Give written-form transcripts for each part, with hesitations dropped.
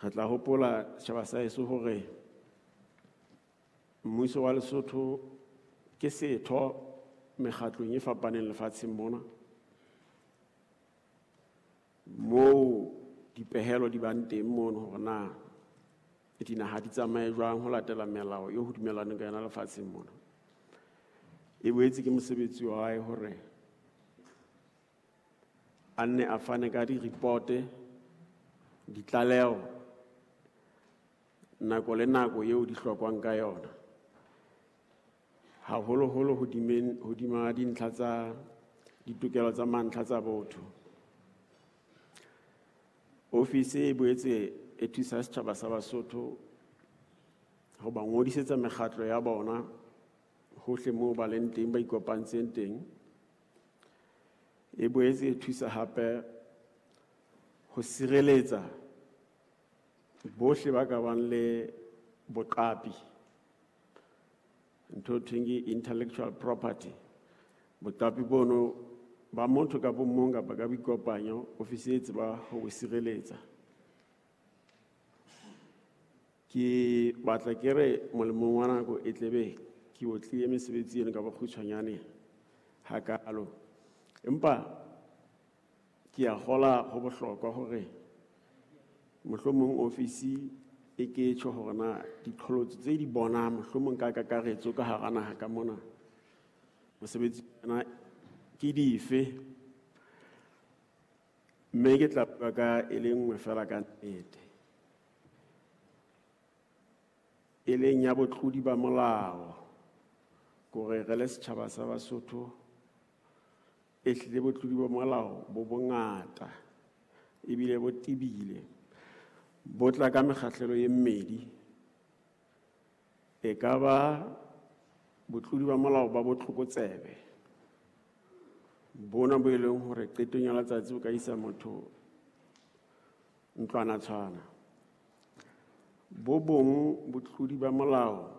Re tla hopola setjhaba sa heso hore mmuso wa Lesotho ke setho mekgatlong e fapaneng lefatsheng mona, moo dipehelo di bang teng mono hore na dinaha di tsamaye jwang ho latela melao eo ho dumellanweng ka yona lefatsheng mona. E boetse ke mosebetsi wa hae hore a nne a fane ka di-report, ditlaleho nako le nako eo di hlokwang ka yona, haholoholo hodima dintlha tsa ditokelo tsa mantlha tsa botho. Ofisi e boetse e thusa setjhaba sa Basotho ho ba ngodisetsa mekgatlo ya bona hohle moo ba leng teng, ba ikopantseng teng. E boetse e thusa hape ho sireletsa bohle ba ka bang le boqapi, ntho e thweng ke intellectual property. Boqapi bono ba motho ka bo mong kapa ka boikopanyo, ofisi e tseba ho bo sireletsa. Ke batla ke re molemong wa nako e tlebe ke otlile mesebetsi eno ka bokgutshwanyane hakalo, empa ke a kgola ho bohlokwa hore mohlomong ofisi e ke tjho hore na diqholotso tse di bonang mohlomong ka kakaretso ka hara naha ka mona mosebetsi ona ke dife, mme ke tla bua ka e le nngwe fela ka nnete, e leng ya botlodi ba molao. Kore re le setjhaba sa Basotho e hlile botlodi ba molao bo bongata ebile bo tebile, bo tla ka mekgahlelo e mmedi. E ka ba botlodi ba molao ba botlokotsebe bona bo e leng hore qetong ya letsatsi bo ka isa motho ntlwanatshwana. Bo bong botlodi ba molao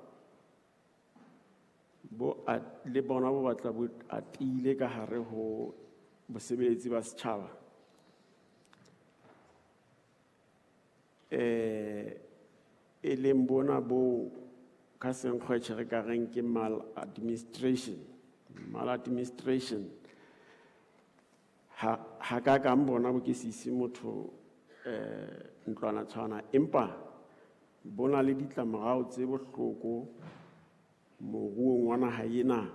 bo le bona bo batla bo atile ka hare ho bosebeletsi ba setjhaba. E leng bona bo ka senkgwetjhe re ka reng ke maladministration. Maladministration ha ka kang bona bo ke se ise motho ntlwanatshwana, empa bona le ditlamorao tse bohloko moruong wa naha ena,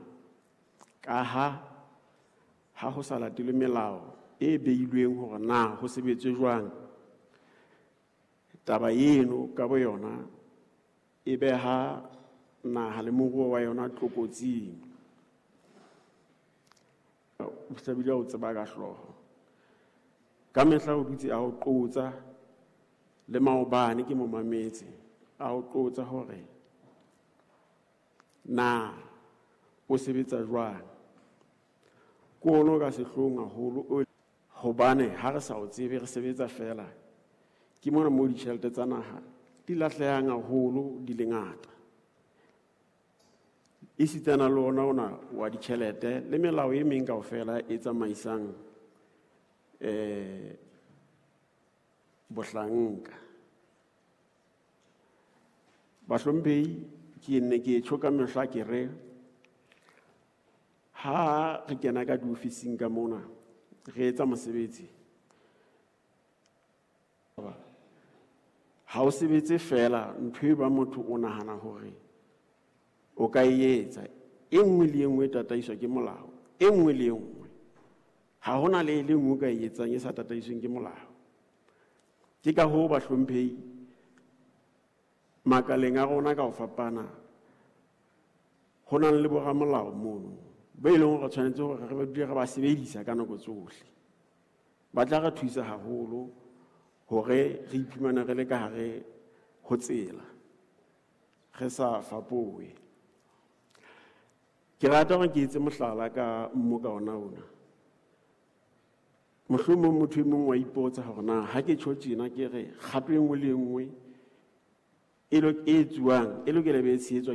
ka ha ho sa latelwe melao e beilweng hore na ho sebetswe jwang. Taba eno ka boyona e beha naha le moruo wa yona tlokotsing. O hlabile o tseba ka hlooho. Ka mehla o dutse a o qotsa, le maobane ke mo mametse a o qotsa hore na o sebetsa jwang. Ke ono ka sehloohong haholo, hobane ha re sa o tsebe re sebetsa fela. Ke mona moo ditjhelete tsa naha di lahlehang haholo di le ngata. Esitana le ona ona wa ditjhelete le melao e meng kaofela e tsamaisang bohlanka. Bahlomphehi, ke nne ke tjho ka mehla ke re ha re kena ka diofising ka mona re etsa mosebetsi, ha o sebetse fela ntho e ba motho o nahana hore o ka e etsa. E nngwe le e nngwe e tataiswa ke molao, e nngwe le e nngwe. Ha hona le e le nngwe o ka e etsang e sa tataisweng ke molao. Ke ka hoo bahlomphehi makaleng a rona ka ho fapana ho nang le boramolao mono ba e leng hore re tshwanetse hore re ba dule re ba sebedisa ka nako tsohle. Ba tla re thusa haholo hore re iphumane re le ka hare ho tsela, re sa fapohe. Ke rata hore ke etse mohlala ka mmoka ona ona. Mohlomong motho e mong wa ipotsa hore na ha ke tjho tjena ke re kgato e nngwe le e nngwe e etsuwang e lokela be e tshehetswa ke